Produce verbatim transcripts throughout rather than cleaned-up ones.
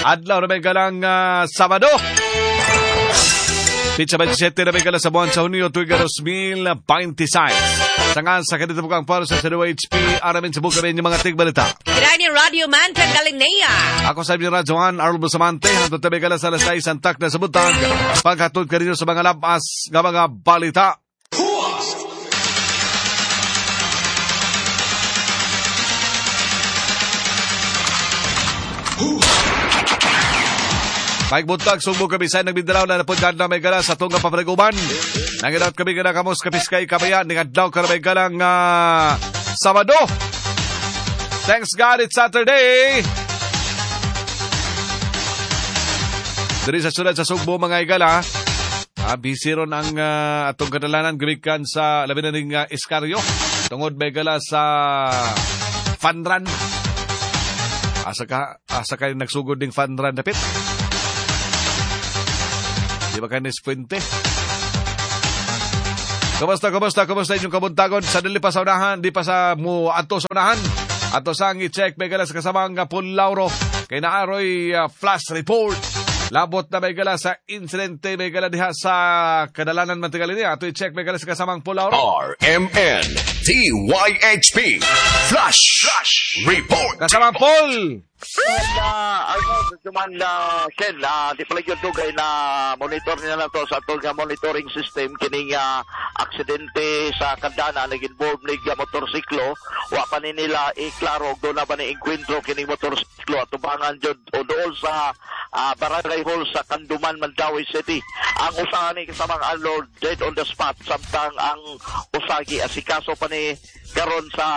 Adlaw na may galang uh, Sabado. Pitsa twenty-seven na may gala sa buwan sa Hunyo, tuwing two thousand twenty-six. Sa nga sa kanito po kang para sa C W H P, aramin sa buka rin yung mga tigbalita. Kaya Radio Man Tagalinea. Ako sa inyo Radyohan, Arnold Bustamante, hangtod tabi gala sa alas sais ang tak na sa buntag. Paghatod kanino sa mga labas nga mga balita. Mike Buntag, Sugbo kami sa ng Mindanao na napundad na may gala sa tungga papanaguban. Nanginat kami gala kamos kapiskay kabayan, ningadlaw ka na may galang uh, Sabado. Thanks God, it's Saturday! Diri sa syudad sa Sugbo, mga igala, ah, busy ron ang uh, atong kadalanan gumikan sa labi na ning uh, Escario. Tungod may gala sa fun run. Asa ka, asa kayo nagsugod ding fun run dapit? Di ba kayo Fuente? Kumusta, kumusta, kumusta inyong kabuntagon? Sa dili pa sa unahan, di pa sa mo ato sa unahan. Ato sang i-check may gala sa kasamang Paul Lauro. Kay naaroy uh, flash report. Labot na may gala sa insidente, may gala diha sa kadalanan Mantigalini. Ato i-check may gala sa kasamang Paul Lauro. R M N D Y H P Flash, Flash Report. Kasamang Paul! Uh, Arnold, man uh, Ken, uh, di pala yun dugay na monitor nila na to sa atong uh, monitoring system kining uh, aksidente sa Kandana nag-involve nig uh, motorsiklo. Wa pa ni nila iklaro doon na ba ni enkwentro kining motorsiklo at tubangan jud o dool sa uh, Barangay Hall sa Canduman, Mandaue City. Ang usa ni kasamang Arnold dead on the spot, samtang ang usagi asikaso pa ni karon sa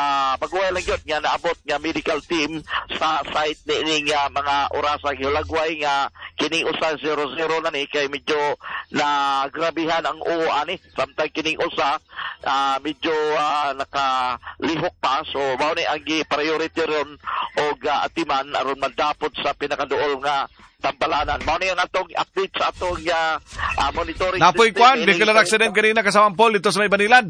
pagway lang yun nga naabot nga medical team sa site ni nga mga orasa gihulagway nga kining usa zero zero na ni kay medyo na grabihan ang uo ani, samtang kining usa uh, medyo uh, nakalihok pa, so mao ni ang gi-priority ron og uh, atiman aron madapot sa pinakaduol nga tambalanan. Mao ni ang atong update sa atong uh, uh, monitoring Napoy kwan, vehicular accident kanina kasamang Paul dito sa may Banilad.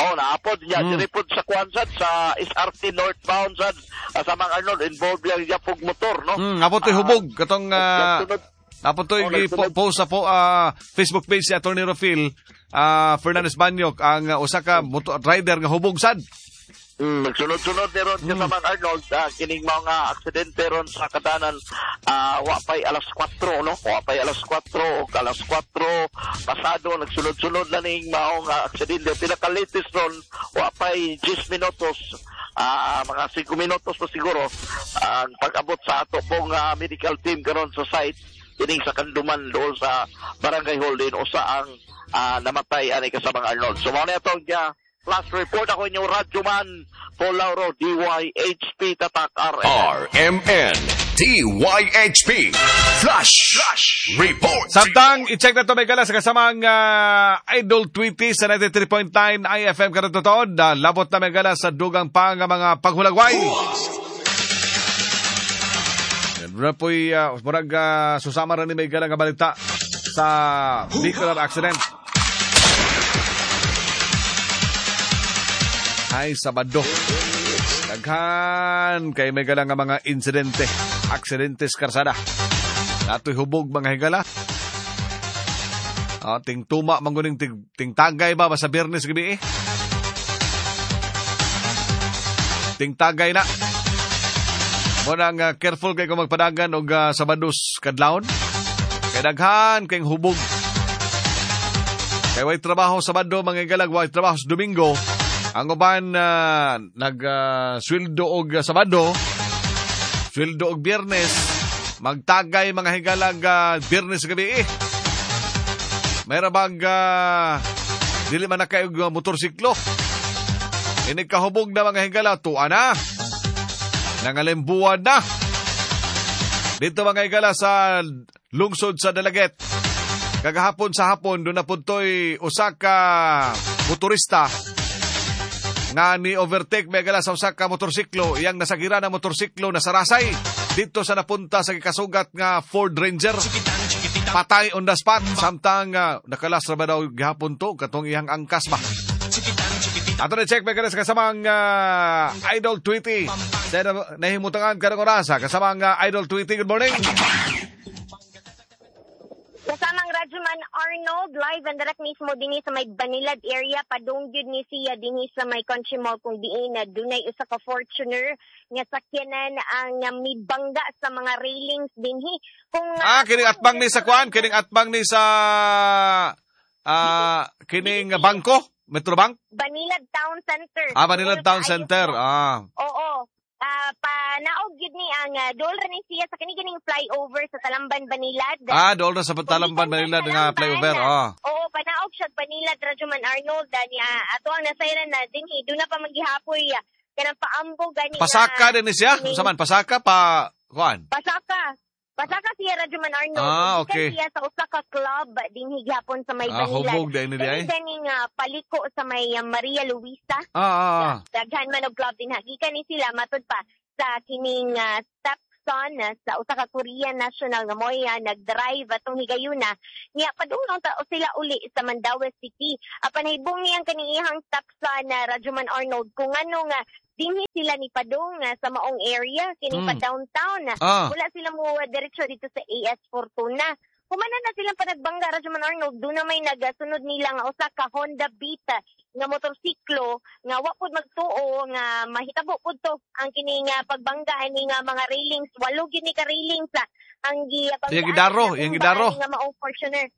Oh, naapod niya. Mm. Diripod sa Kwanzad, sa S R T northbound sad. Kasamang Arnold, involved lang niya pog motor, no? Mm, napod to'y hubog. Katong, uh, napod to'y oh, post sa po, uh, Facebook page si Attorney Rofil uh, Fernandez Banyok, ang uh, usa ka motor rider nga hubog sad. Mm, nagsunod-sunod ni ron mm. kasamang Arnold, uh, kining mga aksidente ron sa kadanan, uh, wa pa'y alas kwatro, no? Wa pa'y alas kwatro, o alas kwatro pasado, nagsunod-sunod na ning maong uh, aksidente. Pinaka-latest ron, wa pa'y ten minutos, uh, mga five minutos pa siguro, ang uh, pag-abot sa ato pong uh, medical team karon sa site, kining sa Canduman doon sa Barangay Hall din, usa ang uh, namatay ani kasamang Arnold. So, mao na itong uh, Flash report. Ako inyong Radyoman, Paul Lauro, D Y H P Tatak R M N. R M N D Y H P Flash, Flash Report. Samtang i-check na ito may gala sa kasamang uh, Idol Tweety sa ninety-three point nine I F M karatotood. Uh, labot na may gala sa dugang pang mga paghulagway. Yan po'y uh, murag uh, susama rin ni may gala nga balita sa vehicular accident. Ay, Sabado. Daghan kay may gala nga mga insidente, aksidente sa karsada. Natoy hubog mga higala. Ah, ting tuma manguning ting, ting tagay ba sa Biyernes gabi eh. Ting tagay na. Mo nang uh, careful kay kung magpadagan og uh, Sabados kadlawon. Kay daghan kay hubog. Kay way trabaho Sabado mga higala, way trabaho sa Domingo. Ang uban uh, nag-sweldo uh, og Sabado, sweldo og Biyernes, magtagay mga higalag uh, Biyernes gabi eh. Mayra bag uh, dili man na kayo og motorsiklo. Inig kahubog na mga higala, tuwa na. Nangalimbuan na. Dito mga higala sa lungsod sa Dalaguete. Kagahapon sa hapon, doon na punto'y usa ka motorista nga ni overtake may gala sa usa ka motorsiklo, iyang nasagira ng motorsiklo nasarasay dito sa napunta sa gikasugat nga Ford Ranger. Patay on the spot samtang uh, nakalas ra ba daw gihapon to katong iyang angkas ba. Ato na check may kanas kasamang uh, Idol Tweety. Sa nahimutangan karong orasa kasamang uh, Idol Tweety. Good morning. Kasamang Radyoman Arnold, live and direct mismo dinhi sa may Banilad area, padung gyud ni siya dinhi sa may Country Mall kung diin na dunay usa ka Fortuner nga sakyanan ang uh, mibangga sa mga railings dinhi. Kung Ah, kining atbang ni sa kuan, kining atbang ni sa ah kining bangko, Metrobank? Banilad Town Center. Ah, Banilad Town Center. Ah. Oo. Ah, panaog gyud ni ang uh, dool ra ni siya sa kini kining flyover sa Talamban Banilad. Ah, dool ra sa Talamban Banilad nga flyover. Ah. Oo, panaog siya Banilad Radyoman Arnold niya ato ang nasayran na dinhi doon na pa maggihapoy ah, kanang paambo gani Pasaka din ni siya? Unsa man pasaka pa kuan? Pasaka. Pasaka siya Radyoman Arnold. Ah, okay. Siya sa usa ka club dinhi gihapon sa may Ah, Banilad. hubog din ni di ay. Kani nga paliko sa may uh, Maria Luisa. Ah, ah, ah. Daghan man og club dinha. Gikan ni sila matud pa sa kining uh, stepson uh, sa usa ka Korean national nga moy uh, nagdrive atong higayuna niya padulong ta sila uli sa Mandaue City. Apan nahibong niyang kaning iyang stepson na uh, Radyoman Arnold kung ano nga dinhi sila ni padung uh, sa maong area kini Mm. pa downtown. Ah. Wala sila mo uh, diretso dito sa A S Fortuna. Humana na silang panagbangga Radyoman Arnold, doon na may nagasunod nila nga usa ka Honda Beat nga motorsiklo nga wa pud magtuo nga mahitabo pud to ang kini nga pagbangga ani nga mga railings, walo gyud ni ka railings ah, ang gibanggaan. Iyang gidaro, iyang gidaro. Nga maong Fortuner.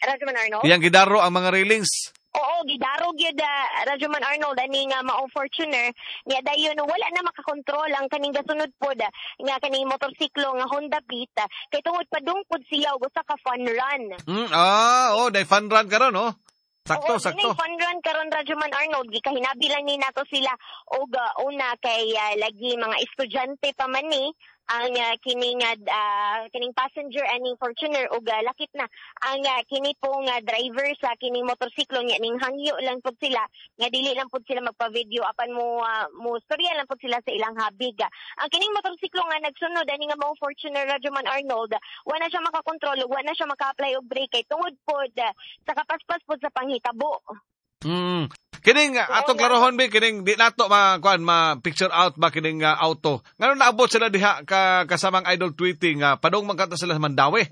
Radyoman Arnold. Iyang gidaro ang mga railings. Oo, gidaro gyud uh, Radyoman Arnold ani nga maong Fortuner niya dayon wala na makakontrol ang kaning gasunod pod ah, nga kaning motorsiklo nga Honda Beat ah, kay tungod padung pod siya og usa ka fun run. Mm, ah, oh, day fun run karon, oh. Sakto, Oo, sakto. Dunay fun run karon Radyoman Arnold, gikahinabi lang ni nato sila og uh, una kay uh, lagi mga estudyante pa man ni ang uh, kining uh, kining passenger aning Fortuner og uh, lakit na ang uh, kini pong uh, driver sa kining motorsiklo niya ning hangyo lang pud sila nga dili lang pud sila magpa-video apan mo uh, mo storya lang pud sila sa ilang habig. Ang kining motorsiklo nga nagsunod ani nga mao Fortuner Radyoman Arnold, wa na siya makakontrol ug wa na siya maka-apply og brake kay tungod pod uh, sa kapaspas pod sa panghitabo. Mm. Kining atong klarohon bi kining di nato ma kuan ma picture out ba kining uh, auto. Ngano naabot sila diha ka kasamang Idol Tweety nga padung man kadto sila sa Mandaue.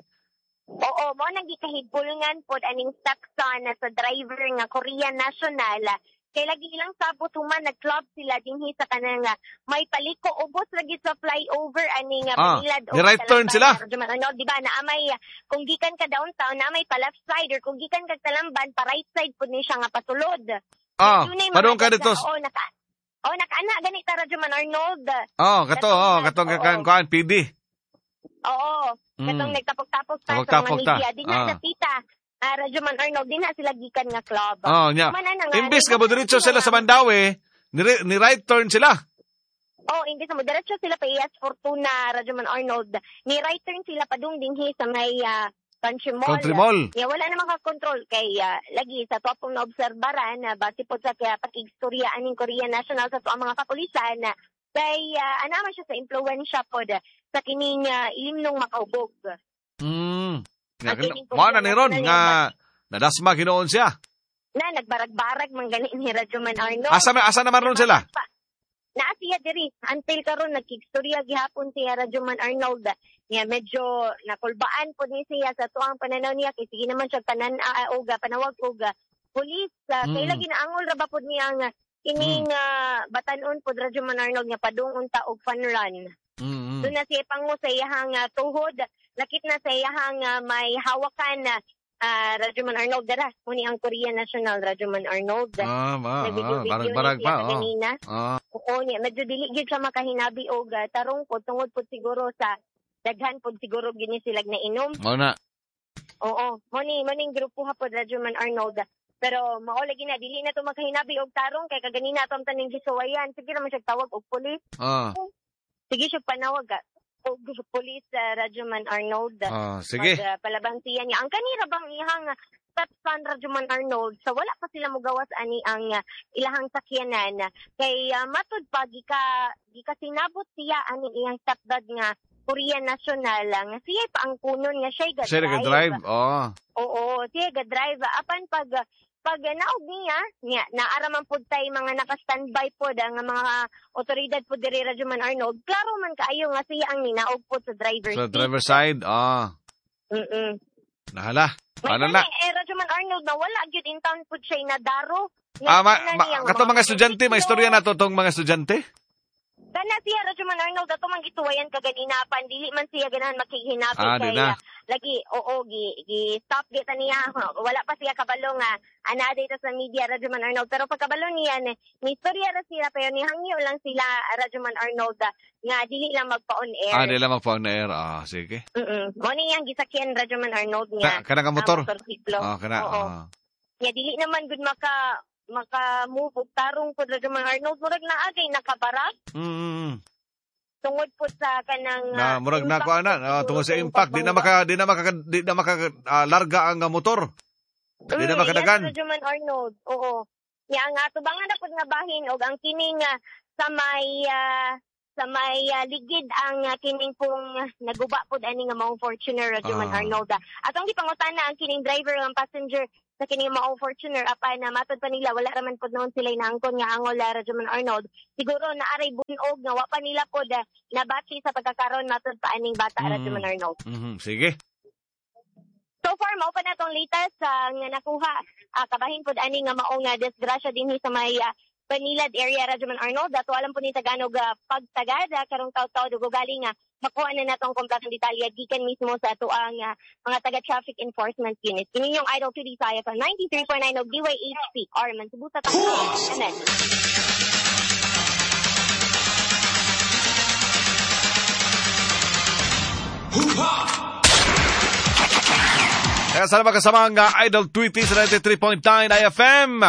Oo, mo nang gikahibulngan pod aning stepson sa driver nga Korean national. Kay lagi ilang sabot human nag-club sila dinhi sa kanang may paliko ubos lagi sa flyover ani nga ah, Banilad ni right turn sila. Ano, di ba na may kung gikan ka downtown na may pa left side or kung gikan ka Talamban pa right side pud ni siya nga pasulod. Ah, padung ka dito. Oo, naka Oh, nakaana gani ta Radyoman Arnold. Oh, kato, oh, katong kakan kuan P D. Oo, Mm. katong nagtapok-tapok ta sa mga media. Dinha Ah. sa tita. Ah, Radyoman Arnold, dinha sila gikan nga club. Oh, nya. Humana na nga, Imbis nga mo diretso sila sa Mandaue, ni, ni right turn sila. Oh, imbis nga mo diretso sila pa A S Fortuna, Radyoman Arnold. Ni right turn sila padung dinhi sa may uh, Country Mall. Country Mall. Yeah, wala na makakontrol kay uh, lagi sa to pong naobserbaran na uh, base po sa kaya pakigstorya aning Korean National sa to ang mga kapulisan uh, kay uh, ana man siya sa impluwensya pod uh, sa kining uh, ilimnong makaubog. Mm. Nga, mo na ni Ron nga nadasma ginoon siya. Na nagbarag-barag man gani ni Radyoman Arnold. Asa asa naman ron sila? Naa siya diri until karon nagkigstorya gihapon siya Radyoman Arnold. Niya medyo nakulbaan pod ni siya sa tuang pananaw niya kay sige naman siya panan uh, og panawag og pulis uh, mm. kay lagi naangol ra ba pod niya ang kining mm. uh, batan-on pod Radyoman Arnold nga padung unta og fun run. Mm. Doon na siya pangu sa iyahang uh, tuhod, lakit na sa iyahang uh, may hawakan na uh, Radyoman Arnold dara muni ang Korean National Radyoman Arnold. Ah, ma, ah, barag-barag pa, oh. Kanina. Ah. Oo, niya medyo dili gyud siya makahinabi og uh, tarong po tungod pod siguro sa daghan pod siguro gini sila na inom. Mao na. Oo, mo ni mo ning grupo ha pod Radyoman Arnold. Pero mao lagi na dili na to makahinabi og tarong kay kaganina ato ang taning gisuwayan. Sige ra man siya tawag og pulis. Ah. Sige siya panawag og pulis sa uh, Radyoman Arnold. Ah, sige. Mag, uh, palabantiyan niya. Ang kanira bang ihang stepson Radyoman Arnold sa wala pa sila mogawas ani ang uh, ilahang sakyanan kay uh, matud pa gika gika sinabot siya ani iyang stepdad nga Korean National nga siya pa ang kunon nga siya ga drive. Siya ga drive. Oh. Oo, siya ga drive apan pag Pag naog niya, niya naara man pud tay mga naka-standby pod ang mga otoridad pod diri, Radyoman Arnold. Klaro man kaayo nga siya ang ninaog pod sa driver Sa seat. Driver side, ah. Mm. Nahala. May Ano na? gani, eh, Radyoman Arnold, na wala gyud in town pud siya nadaro. Nga Ah, ma, na ma, niya nga kato mga estudyante, may istorya na to tong mga estudyante? Kana siya, Radyoman Arnold, ato man gituwayan kaganina pan dili man siya ganahan makighinabi Ah, di kay na. ah, lagi oo, gi gi stop gita niya. Wala pa siya kabalo nga ana dito sa media, Radyoman Arnold, pero pagkabalo niya ni ni istorya ra sila, pero nihangyo lang sila, Radyoman Arnold, ah, nga dili lang magpa-on air. Ah, di lang magpa-on air. Ah, sige. Mm. Mo ni iyang gisakyan, Radyoman Arnold, nga Ka, kana nga motor. ah, motorsiklo. Ah, kana. Oo. Ah. Nga dili naman gud maka maka move og tarong pud, Radyoman Arnold, murag naa kay nakabarak Mm. tungod po sa kanang Na ah, murag na impact ko ana, po ah, siguro tungod sa sa impact, di na maka di na maka di na maka ah, larga ang ah, motor. Di na Mm, makadagan. Yes, Radyoman Arnold. Oo. Ya ang atubangan na pud nga bahin og ang kining ah, sa may ah, sa may ah, ligid ang ah, kining pong naguba pud ani nga maong Fortuner, Radyoman Ah. Arnold. ah. Atong gipangutana ang kining driver ang passenger sa kining maong Fortuner, apan na matod pa nila wala raman pud noon sila naangkon nga angol, ah, Radyoman Arnold. Siguro naaray bunog nga wa pa nila pod ah, nabati sa pagkakaron matod pa aning bata, Mm. Radyoman Arnold. Mhm, sige. So far, mao pa na tong latest ah, nga nakuha. Ah, kabahin pod ani nga maong nga disgrasya dinhi sa may ah, Banilad area, Radyoman Arnold. Ato alam po ni Taganog ah, pagtagad ah, karong taw-taw dugo galing nga makuha na natong kompletong detalye gikan mismo sa atoang ah, mga taga Traffic Enforcement Unit. Kini yung Idol two D sa I F M ninety-three point nine og D Y H P Arman Cebu sa Tangka. M N. Kaya sana makasama ang ah, Idol Tweety sa ninety-three point nine I F M.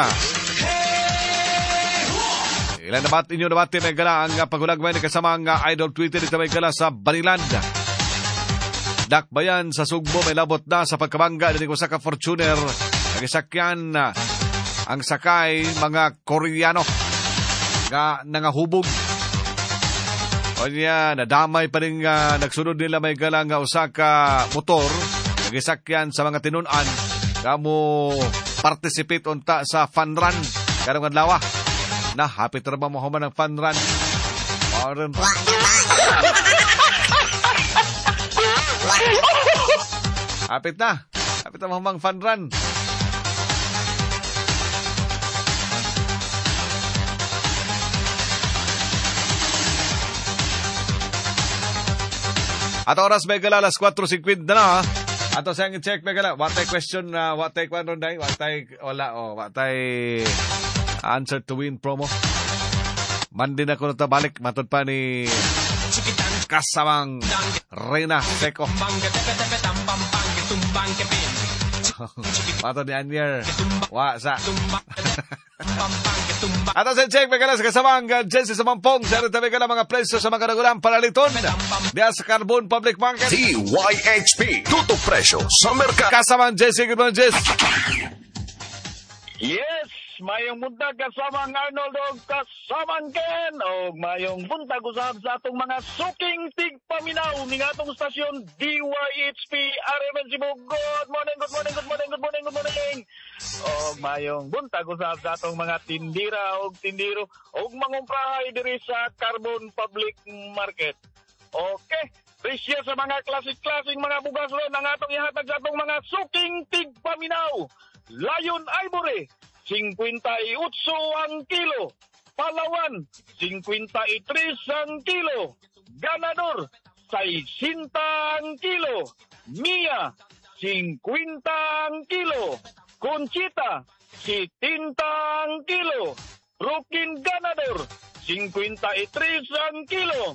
Ilan na bat inyo nabati may gala ang uh, paghulagmay ni kasama ang ah, Idol Tweety dito may gala sa Baniland. Dakbayan sa Sugbo may labot na sa pagkabangga dinhi usa ka Fortuner nagisakyan ah, ang sakay mga Koreano nga nangahubog. O niya, nadamay pa rin uh, nagsunod nila may gala nga usa ka motor nagisakyan sa mga tinun-an kamo participate unta sa fun run karong adlaw. Na hapit ra ba mo human ang fun run? Parang hapit na. Hapit na mahumang fun run. At oras may gala alas kwatro singkwenta na. Ato sa check may gala. Watay question na uh, watay kwan ron day. Watay wala oh, watay answer to win promo. Monday na ko na balik matod pa ni kasamang Reyna Seco. Matod ni Anier. Wa sa. Ato sa check may gala sa kasamang uh, Jesse sa Mampong. Sa rito may gala mga presyo sa mga kanagulang paraliton. Diya sa Carbon Public Market. D Y H P. Tutok presyo sa merkado. Kasamang Jesse. Good morning, Jesse. Yes, mayong buntag, kasamang Arnold og kasamang Ken og mayong buntag usab sa atong mga suking tigpaminaw ning atong stasyon D Y H P R M N Cebu. Good morning, good morning, good morning, good morning, good morning. Og mayong buntag usab sa atong mga tindira og tindiro og mangumprahay diri sa Carbon Public Market. Okay, presyo sa mga klasik-klaseng mga bugas ron ang atong ihatag sa atong mga suking tigpaminaw. Lion Ivory, singkwenta y otso ang kilo. Palawan, singkwenta y tres ang kilo. Ganador, sesenta ang kilo. Mia, singkwenta ang kilo. Conchita, sitenta ang kilo. Rukin Ganador, singkwenta y tres ang kilo.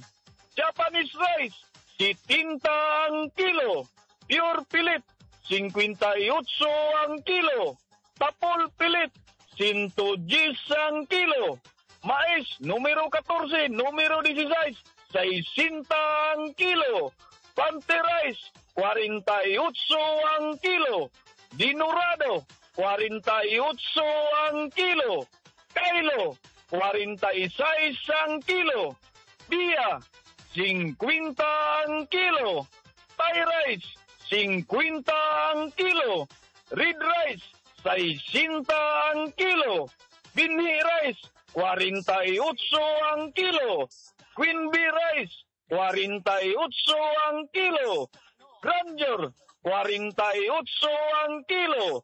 Japanese rice, sitenta ang kilo. Pure Pilit, singkwenta y otso ang kilo. Tapol Pilit, one hundred ten ang kilo. Mais, numero catorse, numero sixteen, sesenta ang kilo. Pante rice, kwarenta y otso ang kilo. Dinorado, kwarenta y otso ang kilo. Kailo, kwarenta y sais ang kilo. Bia, singkwenta ang kilo. Thai rice, singkwenta ang kilo. Red rice, sesenta ang kilo. Binhi rice, kwarenta y otso ang kilo. Queen Bee rice, kwarenta y otso ang kilo. Grandeur, kwarenta y otso ang kilo.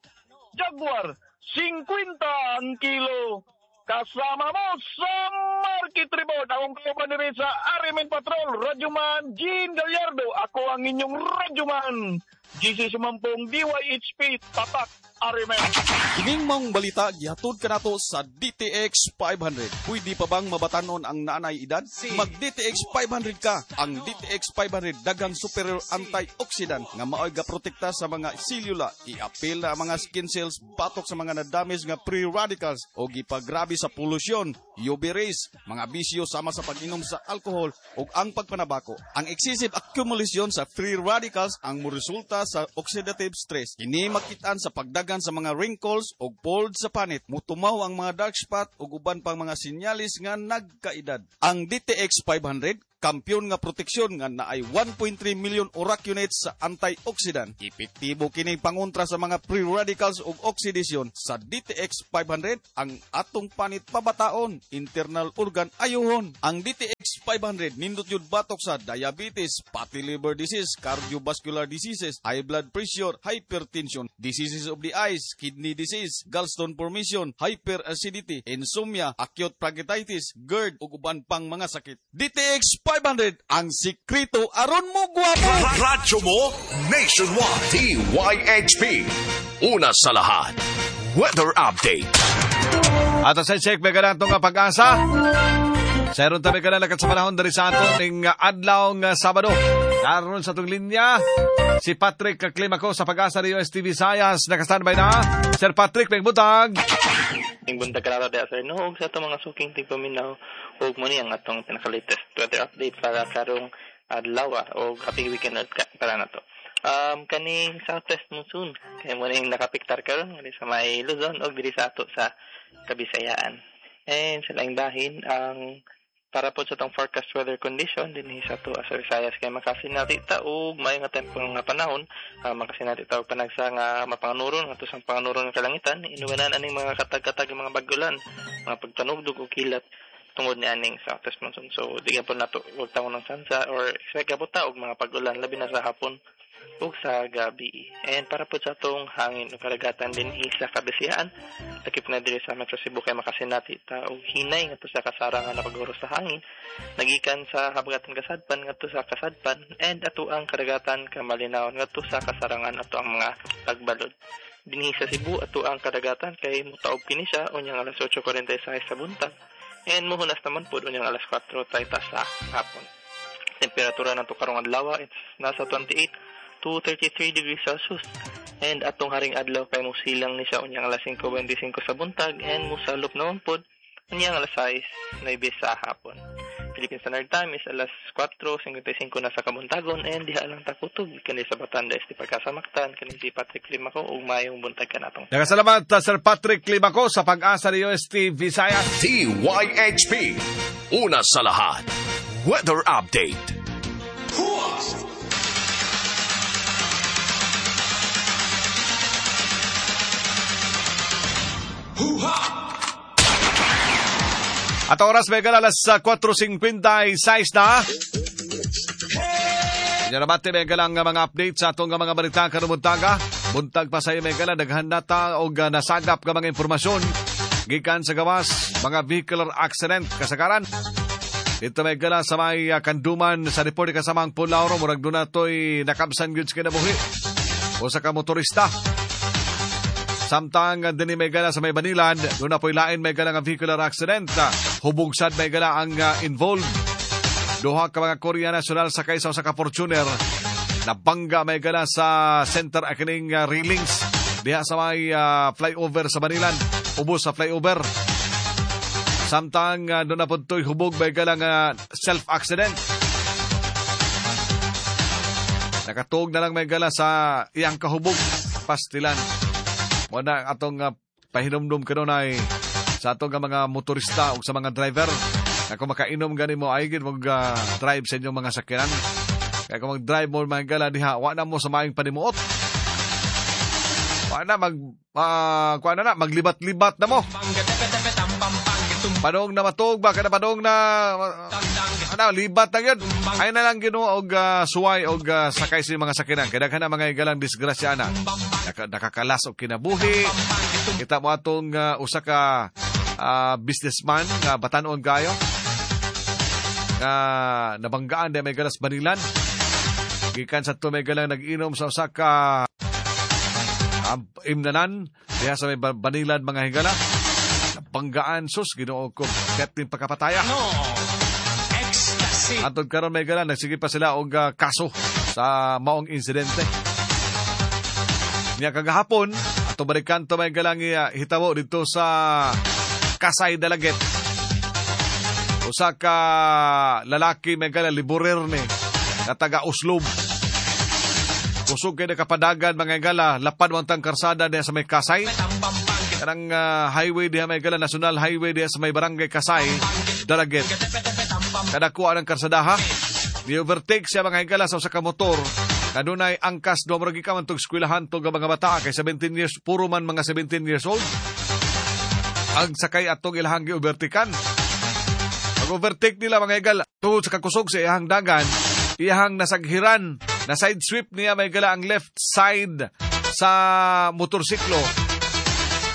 Jaguar, singkwenta ang kilo. Kasama mo sa Market Report. Akong kauban diri sa R M N Patrol, Radyoman Jean Gallardo. Ako ang inyong Radyoman. G C Sumampong, D Y H P, Tatak, R M N. Kining maong balita gihatod kanato sa D T X five hundred. Pwede pa bang mabatanon ang naanay edad? Mag D T X five hundred ka. Ang D T X five hundred daghang superior antioxidant nga maoy gaprotekta sa mga selula, iapil na ang mga skin cells batok sa mga na-damage nga free radicals o gipagrabe sa polusyon, U V rays, mga bisyo sama sa pag-inom sa alcohol ug ang pagpanabako. Ang excessive accumulation sa free radicals ang moresulta sa oxidative stress. Kini makitaan sa pagdagan sa mga wrinkles ug fold sa panit. Mutumaw ang mga dark spot ug uban pang mga sinyalis nga nagkaedad. Ang D T X five hundred kampiyon nga proteksyon nga naay one point three million ORAC units sa antioxidant. Epektibo kini pangontra sa mga free radicals ug oxidation. Sa D T X five hundred, ang atong panit pabataon, internal organ ayuhon. Ang D T X five hundred nindot yun batok sa diabetes, fatty liver disease, cardiovascular diseases, high blood pressure, hypertension, diseases of the eyes, kidney disease, gallstone formation, hyperacidity, insomnia, acute pancreatitis, GERD ug uban pang mga sakit. D T X five hundred ang sikreto aron mo gwapo. Radyo mo nationwide. D Y H P. Una sa lahat. Weather update. At sa check may ganatong nga Pag-asa. Sa aron tabi ka na lakat sa panahon dari sa aton ning adlaw nga Sabado. Karon sa atong linya si Patrick Climaco sa Pag-asa ni U S T Visayas, naka-standby na. Sir Patrick, may butag. Ing buntag kararo diha, sir, no, ug sa atong mga suking tigpaminaw, ug mo ni ang atong pinaka-latest weather update para karong adlaw og happy weekend ka para nato. Um kaning southwest monsoon kay mo ning nakapiktar karon diri sa may Luzon ug diri sa ato sa Kabisayaan. And sa laing bahin, ang para po sa atong forecast weather condition dinhi sa ato sa Visayas kay makasinati ta og maayo nga tempo nga panahon, uh, makasinati ta og panagsa nga mapanganuron ngadto sa panganuron nga kalangitan, inuwanan aning mga katag-katag nga mga bagulan, mga pagtanugdog og kilat tungod ni aning southwest monsoon. So di po nato wag taon ng sansa or expect po ta og mga pag-ulan labi na sa hapon ug sa gabi. And para po sa atong hangin ug karagatan dinhi sa Kabisayaan, lakip na diri sa Metro Cebu, kay makasinati ta og hinay ngadto sa kasarangan na paghuros sa hangin nagikan sa habagatan kasadpan ngadto sa kasadpan and ato ang karagatan kamalinawan ngadto sa kasarangan ato ang mga pagbalod. Dinhi sa Cebu, ato ang kadagatan kay mutaob kini siya unyang alas otso kuwarenta y sais sa buntag and muhunas naman pud unyang alas kwatro treinta sa hapon. Temperatura nato karong adlaw, it's nasa twenty-eight to thirty-three degrees Celsius. And atong haring adlaw kay musilang ni siya unyang alas singko beinte singko sa buntag and musalop naman pod unyang alas sais nuwebe sa hapon. Philippine Standard Time is alas kwatro singkwenta y singko na sa kabuntagon and diha lang takutob kani sa Batangas di pagkasamaktan kani si Patrick Climaco ug maayong buntag kanatong. Nagkasalamat, uh, Sir Patrick Climaco sa Pag-asa ni U S T Visayas. D Y H P. Una sa lahat. Weather update. At oras may alas uh, kwatro singkwenta y sais na. Inyo nabati may galang mga update sa atong mga balita karong buntaga. Buntag pa sa iyo may gala daghan na ta og uh, nasagap nga mga impormasyon gikan sa gawas, mga vehicular accident kasagaran. Dito may gala sa may uh, Kanduman, sa report kasamang Pulauro, murag doon na to'y nakabsan gyud sa kinabuhi usa ka motorista. Samtang uh, dinhi may gala sa may Banilad, doon na po'y lain may gala nga vehicular accident. Hubugsad may gala ang uh, involved. Duha ka mga Korea National sakay sa usa ka Fortuner. Nabangga may gala sa center akining uh, railings diha sa may uh, flyover sa Banilad. Ubos sa flyover. Samtang uh, doon na po to'y hubog may gala nga self-accident. Nakatuog na lang may gala sa iyang kahubog pastilan. Wala atong uh, pahinumdum kanunay sa atong nga mga motorista o sa mga driver na kung makainom gani mo ay gid mag uh, drive sa inyong mga sakyanan. Kaya kung mag-drive mo mga gala diha, wa na mo sa maayong panimuot. Kuan na mag uh, kuan na na maglibat-libat na mo. Padong na matug ba kada padong na uh, ano libat na gyud. Ay na lang Ginoo og uh, suway og uh, sakay sa mga sakinan. Kay daghan na mga higalang disgrasya ana. Naka, nakakalas og kinabuhi. Kita mo atong uh, usa ka uh, businessman nga batan-on kayo nga nabanggaan di may galas Banilan. Gikan sa to may galang nag-inom sa usa ka um, imnanan diha sa may Banilan mga higala. Nabanggaan sus Ginoo ko katin pagkapataya. No. Ecstasy. Antod karon may gala nagsige pa sila og uh, kaso sa maong insidente. Niya kagahapon ato balikan to may galang uh, hitabo dito sa Kasay Dalaget. Usa ka lalaki may gala liburer ni na taga Oslob. Kusog kay nakapadagan mga higala lapad wantang karsada diha sa may Kasay. Kanang uh, highway diha may gala national highway diha sa may barangay Kasay Dalaget. Kadakuha ng karsadaha. Ni-overtake siya mga higala sa usa ka motor. Kanunay angkas do murag ka man tog eskwelahan tog mga bata kay seventeen years puro man mga seventeen years old. Ang sakay atong ilahang gi-overtakean. Mag-overtake nila mga higala tungod sa kakusog sa iyahang dagan, iyahang nasaghiran, na side sweep niya may gala ang left side sa motorsiklo.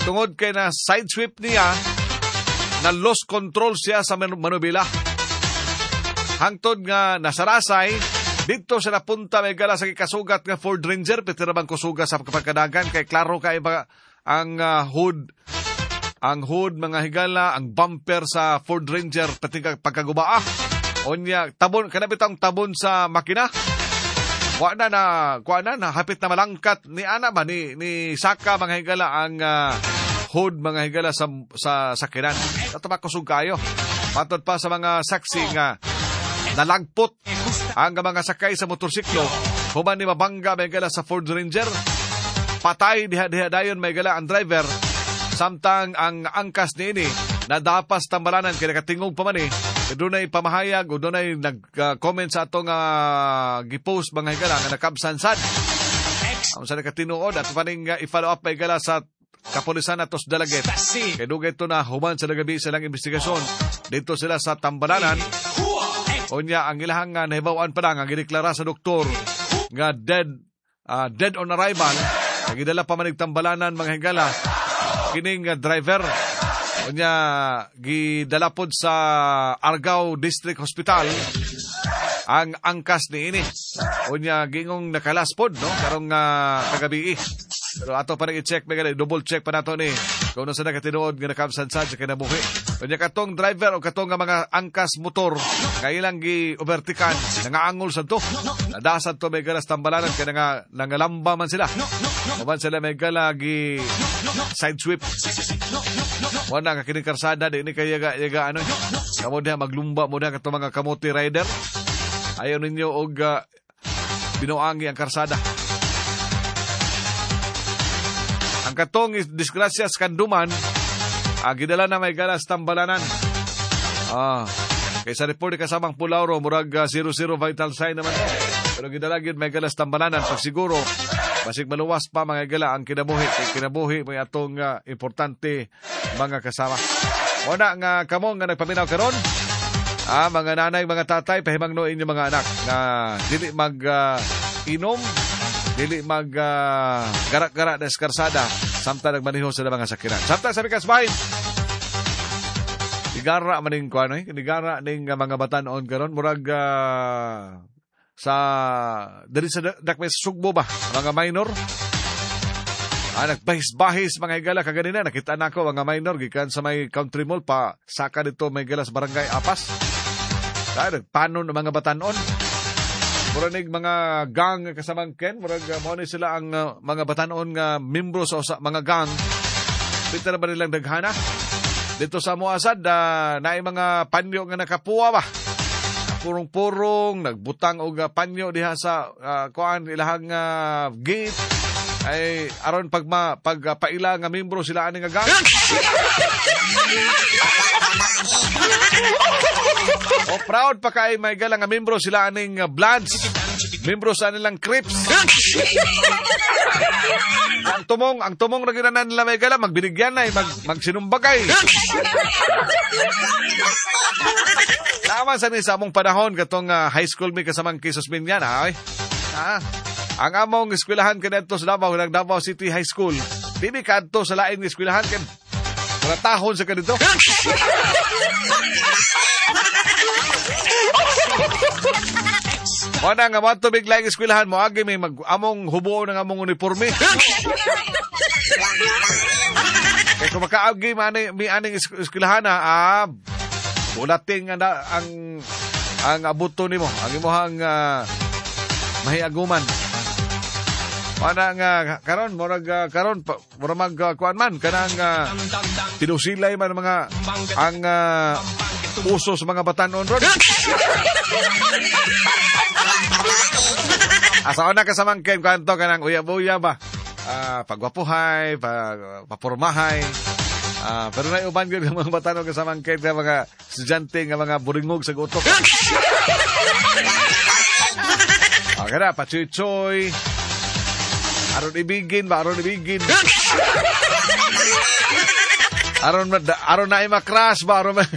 Tungod kay na side sweep niya, na lost control siya sa manubila. Hangtod nga nasarasay, dito sa napunta may gala sa kikasugat nga Ford Ranger, petira bang kusuga sa pagkadagan, kay klaro kay ba ang uh, hood, ang hood mga higala, ang bumper sa Ford Ranger, pati pagkagubaa. Onya, tabon, kanapit ang tabon sa makina. Kuha na na, kuha na na, hapit na malangkat ni ana ba, ni, ni Saka mga higala ang uh, hood mga higala sa, sa sakinan. Ato makusog kayo. Matod pa sa mga saksi nga nalagpot ang mga sakay sa motorsiklo. Human ni mabangga may gala sa Ford Ranger. Patay diha-diha dayon may gala ang driver. Samtang ang angkas niini nadapas tambalanan kay nakatingog pa man eh. Dunay pamahayag o dunay nag-comment sa atong uh, gipost mga higala nga nakabsansad. Ang sa nakatinuod at paning uh, i-follow up may gala sa kapulisan atos Dalaget. Kay dugay ito na human sa nagabi silang investigasyon. Dito sila sa tambalanan. Unya ang ilahang uh, nahibaw-an pa lang ang gideklara sa doktor nga dead uh, dead on arrival. Nagidala pa man tambalanan mga higala kining uh, driver. Unya gidala pod sa Argao District Hospital ang angkas niini. Unya gingong nakalas pod no karong uh, kagabi. Pero ato pa rin i-check, may double check pa nato ni kung sa nakatinuod nga nakabsansad sa kinabuhi. Unya katong driver o katong nga mga angkas motor kailang gi-overtikan, nangaangol sa to. Nadasad to may galas tambalanan kay nga nangalamba man sila. Uban sila may gala gi side sweep. Wala ka kining karsada di ni kay yaga yaga ano. Kamo diha maglumba mo diha katong mga kamote rider. Ayaw ninyo og uh, binuangi ang karsada. Ang katong disgrasya sa Kanduman, ah, gidala na may galas tambalanan. Ah, kaysa report ni kasamang Pulauro, murag uh, zero zero vital sign naman. Pero gidala gyud may galas tambalanan pag siguro basig maluwas pa mga gala ang kinabuhi. Kay kinabuhi may atong uh, importante mga kasama. Wala nga kamo nga nagpaminaw karon. Ah, mga nanay, mga tatay, pahimangno inyo mga anak nga dili mag uh, inom, dili mag uh, gara-gara na eskarsada samtang nagmaneho sa mga sakinan. Samtang sa mikas bahin, nigara maning kuano eh, nigara ning uh, mga batan-on karon murag uh, sa diri sa dakme Sugbo ba, mga minor. Ah, nagbahis-bahis mga higala kaganina nakita nako mga minor gikan sa may country mall pa saka dito may higala sa barangay Apas. Ah, nagpanon ang mga batan-on. Muranig mga gang kasamang Ken, murag uh, mao ni sila ang uh, mga batan-on nga membro sa usa mga gang. Pita na ba nilang daghana? Dito sa Muasad, uh, naay mga panyo nga nakapuwa ba? Purong-purong, nagbutang og uh, panyo diha sa uh, kuan ilahang uh, gate. Ay aron pagma pagpaila nga membro sila ani nga gang. O proud pa kay may galang nga membro sila aning uh, Bloods. Membro sa nilang Crips. Ang tumong, ang tumong na ginanan nila may gala, magbinigyan na, mag, magsinumbagay. Tama sa ni sa among panahon, katong uh, high school mi kasamang Kisos Minyan, ay. Ah, ang among eskwelahan kanadto sa Davao, ng Davao City High School. Di mi kadto sa laing eskwelahan kan wala tahon sa kanito. Wala nga mo tubig laing eskwelahan mo agi may mag among hubo ng among uniforme. Kay kung makaagi man mi aning eskwelahan ah, bulating ang ang ang abuto nimo, ang imong uh, mahiaguman. Wala nga karon murag uh, karon murag mag uh, kuan man kanang uh, tinusilay man mga ang uh, uso sa mga batanon ron. Asa una kasamangken kanto kanang uyab-uyab ba. Uh, pagwapuhay, pag, papormahay. Uh, pero na uban gyud ang mga batanon kasamangken nga mga estudyante nga mga buringog sa gutok. Okay na, pachuy-chuy. Aron ibigin ba? Aron ibigin. Aron, aron na ima-crash ba? Aron ma-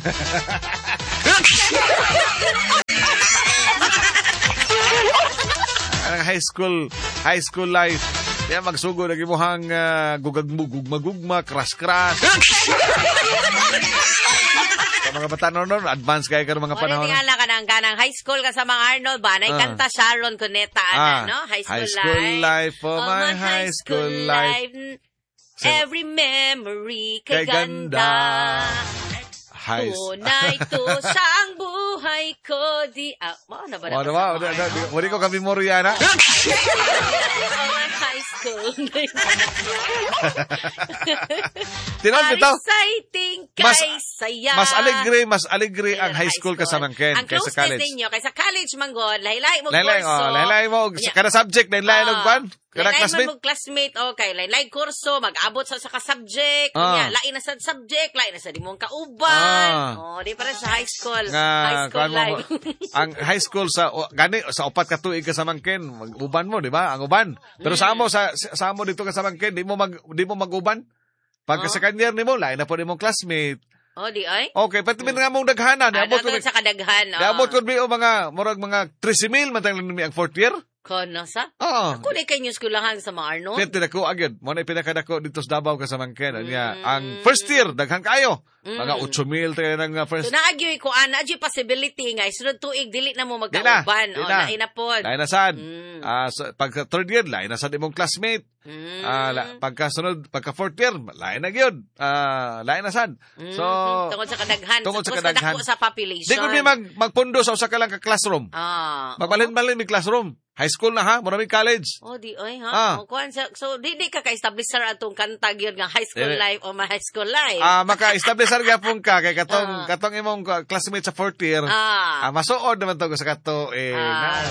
Ang high school, high school life. Kaya magsugo na gimuhang uh, gugagmugugma-gugma, crash-crash. Sa mga bata noon, advance kayo karon mga panahon. Wala nga lang kanang kanang high school kasama Arnold ba? Nay kanta Sharon Cuneta ana, no? High school, high school life, life oh, my, my high school life. life. Every memory kay ganda. High Tunay to sa ang buhay ko di ah, mao na ba na? Mao na ba? Wala ko kami memorya na. High school. Tinon bitaw. Exciting kay saya. Mas alegre, mas alegre ang high school kasamangken kaysa college. Ang close ninyo kaysa college man god, lahi-lahi mo kurso. Oh, lahi-lahi mo kada subject, lahi-lahi og kwan. Kada classmate mo classmate, okay, lahi-lahi kurso, mag-abot sa sa ka-subject, unya lahi na sa subject, lahi na sa di mong kauban. Oh, di para sa high school, high school life. Ang high school sa gani sa upat ka tuig kasamangken, mag-uban mo, di ba? Ang uban. Pero sa amo sa sa amo dito kasamangken, di mo mag di mo mag-uban. Pagka oh. Second year nimo, lain na po nimong classmate. Oh, di ay? Okay, pati mm. nga mong daghanan. Ah, abot ko sa kadaghan. Oh. Abot ko bi o mga murag mga thirty mil man tang ang fourth year. Kono sa? Oo. Ako na kayo eskwelahan sa mga Arnold. Pwede na ko agad. Mo na pinakadako dito sa Davao kasamangken. Mm. Ang first year, daghan kayo. Mm. Mga eight mil tayo ng first. So naagyoy ko, ah, naagyoy possibility nga. Sunod tuig, dili na mo magkauban. O, lain na po. Lain na sad. Mm. Uh, so, pagka third year, lain na sad imong classmate. Mm. Uh, la, pagka sunod, pagka fourth year, lain na gyud. Uh, lain na sad. Mm. So, tungod sa kadaghan. Tungod sa kadaghan. Sa population. Di ko mi mag, magpundo sa usa ka lang ka classroom. Ah. Magbalhin-balhin mi classroom. High school na ha, mura mi college. Oh, di oy ha. Ah. O, kuan, so, so di di ka ka-establish sir atong kanta gyud nga high school eh, life o my high school life. Ah, maka-establish sir gyapon ka kay katong ah. katong imong classmate sa fourth year. Ah, ah masuod naman to sa kato eh. Ah,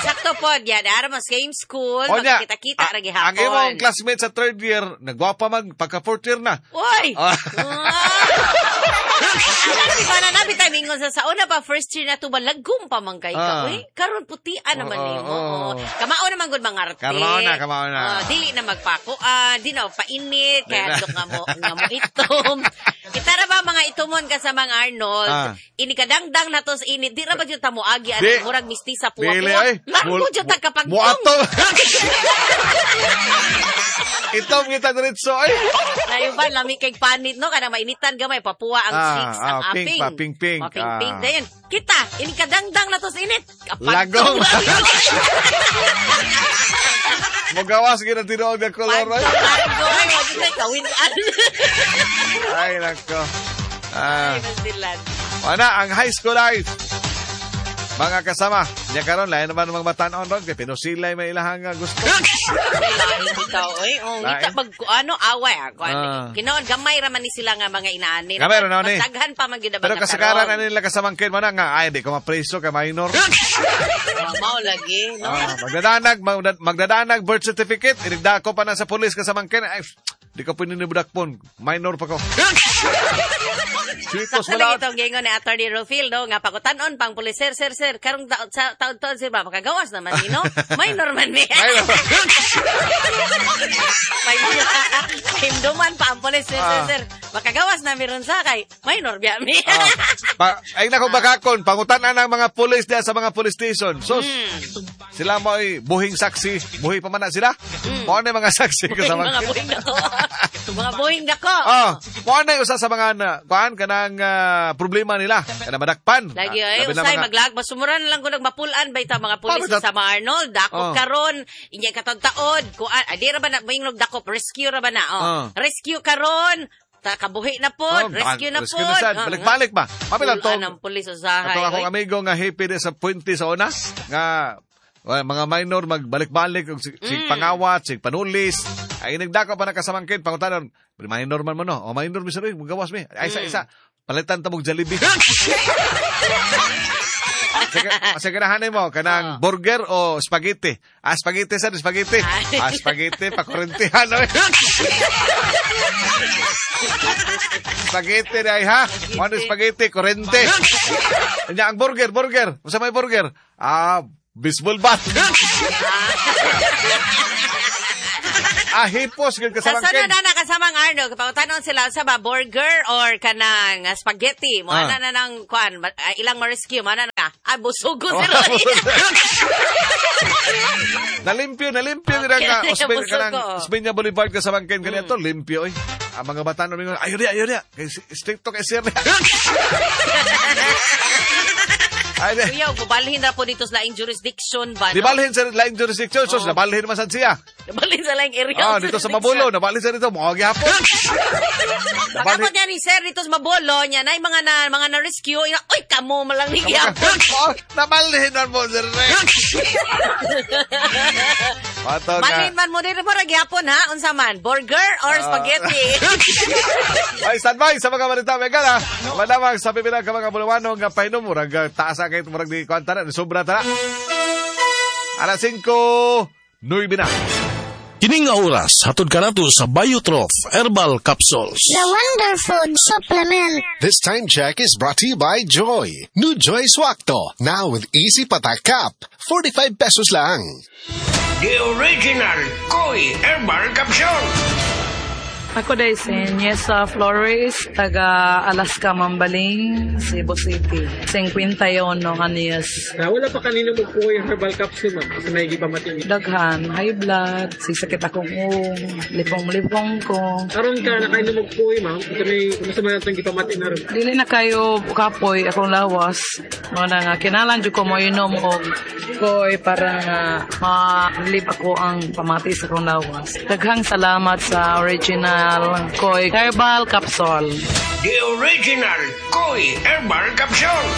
sakto pod yan, ara mo same school, magkita-kita ra gihapon. Ang imong classmate sa third year, nagwapa man pagka fourth year na. Oy. Ah. Di ba na nabi tayo mingon sa sa una pa first year na to ba lagom pa man kay ka. Uy, karon putian naman nimo. Oh, oh. Kamao naman gud mga arte. Kamao na, kamao na. Oh, dili na magpakuan, di na painit, kaya adlok nga mo nga mo itom. Kita ra ba mga itumon ka sa mga Arnold? Ah. Ini kadangdang na to sa init. Di ra ba jud ta moagi ani murag mistisa puwa. Dili ay. Largo jud ta kapag muato. Itom kita diretso ay. Layo ba lami kay panit no kanang mainitan gamay papuwa ang ah, cheeks ah, ang pink aping. Pa, pink pink. Oh, pink ah. pink dayon. Kita ini kadangdang na to sa init. Lagom. Mogawas gyud ang tinuod nga kolor. Ay, largo ay wag tay kawin-an. Ay nako. Ah. Ay, basilan. Wala ang high school life. Mga kasama, niya karon lain naman mga batan-on ron kay pinusilay may ilahang gusto. Lain bitaw oy. Oh, ngita mag ano away ah. Ah. Kinoon gamay ra man ni sila nga mga inaani. Gamay ra ni. Mas daghan pa man gyud Pero kasagaran ani nila kasamangkin man nga ay di ko mapreso kay minor. Oh, mao lagi, no. Ah, magdadanag magdadanag birth certificate inigdako pa na sa pulis kasamangkin ay di ko pininibudakpon, minor pa ko. Sweetos Sakto lang wala. Itong gingon ni Attorney Rufil, no? Nga pagutan-on pang pulis, sir, sir, sir, karong taon sa taon-taon, sir, ba, makagawas naman ni, no? Minor man ni. Minor. May himduman pa ang pulis, sir, sir, Ah. sir. Makagawas na meron sa kay minor biya mi. Ah, pa, ay nako bakakon, pangutan-an ang mga pulis diya sa mga police station. Sus, sila mo ay buhing saksi, buhi pa man na sila. Mao na yung mga saksi Buhing, kasama. mga buhing dako. Mga buhing dako. Ah, mao na yung usa sa mga na, kuan kanang ah, problema nila, kanang madakpan. Lagi Ah, ay labi na usay mga- maglag masumuran na lang ko nagmapulan ba ita mga pulis Pa, sa mga Arnold dako Oh. karon inya katod-taod kuan ay di ra ba na moingnog dako rescue ra ba na oh. Oh. Rescue karon ta kabuhi na pod, Oh, rescue na rescue pod. na sad. Ah, Balik-balik ba? Mapila Pulan tong ang pulis usahay. Atong akong oy. amigo nga happy di sa Puente sa una nga well, mga minor magbalik-balik og sig, sig Mm. pangawat, sig panulis. Ay nagdako pa nakasamangkin pangutanon, minor man mo no. O minor mi sir, oy, magawas mi. Ay isa Mm. isa palitan ta mog Jollibee. Sige, sige na mo kanang burger o spaghetti. Ah, spaghetti sir, spaghetti. Ah, spaghetti pa kurentihan oy. Spaghetti na ha. Ano spaghetti kurente. Nya ang burger, burger. Unsa may burger? Ah, baseball bat. Ah, hipos gyud Sa kasamangkin. sunod na nakasamang Arnold, kapagutanon sila sa ba burger or kanang ah, spaghetti, mo Ah. ana na nang kuan, ma- ah, ilang ma-rescue mo ana na. Ah, busog ko Oh, sir. Nalimpyo, nalimpyo okay. nga Okay, Osben busog kanang ko. Mm. Osmeña Boulevard kasamangkin kaniya to limpyo oy. Ang mga bata no mingon, ayo niya, ayo niya. Kay stricto kay sir niya. Ay, di. Kuya, bubalhin na po dito sa laing jurisdiction ba? Di No? balhin sa laing jurisdiction, sus, nabalhin man sad siya. Nabalhin sa laing area. Ah, of dito sa jurisdiction. Mabulo, nabalhin siya dito, mga gihapon. Pagkapot niya ni sir dito sa Mabolo, niya na mga na mga na rescue, ina, oy kamo malang ni gihapon. Oh, nabalhin man mo sir. Pato nga. Balhin man mo dito mo ra gihapon ha, unsa man, burger or Ah. spaghetti? Ay, standby sa mga balita, mega na. Malamang sa pipilang ka mga buluwano nga pahinom, murag ah, taas ang kahit murag di kuan tara, sobra tara. Alas singko, nuwebe na. Kini nga oras, hatod kanato sa Biotroph Herbal Capsules. The Wonderfood Supplement. This time check is brought to you by Joy. New Joy Swakto. Now with Easy Patak Cap. forty-five pesos lang. The original Koi Herbal Capsule. Ako day si Niesa Flores, taga Alaska, Mambaling, Cebu City. fifty-one anyos. Na wala pa kanino mo po yung herbal capsule, ma'am, kasi may gipamati. Daghan, high blood, sisakit akong uong, lipong-lipong ko. Karon ka nakainom og kuy, ma'am, kasi may kumusta man atong gipamati na ron? Dili na kayo kapoy akong lawas. Mo na nga kinalan jud ko mo inom og koy para nga ma-relieve ako ang pamati sa akong lawas. Daghang salamat sa original Koi Herbal Capsule. The original Koi Herbal Capsule.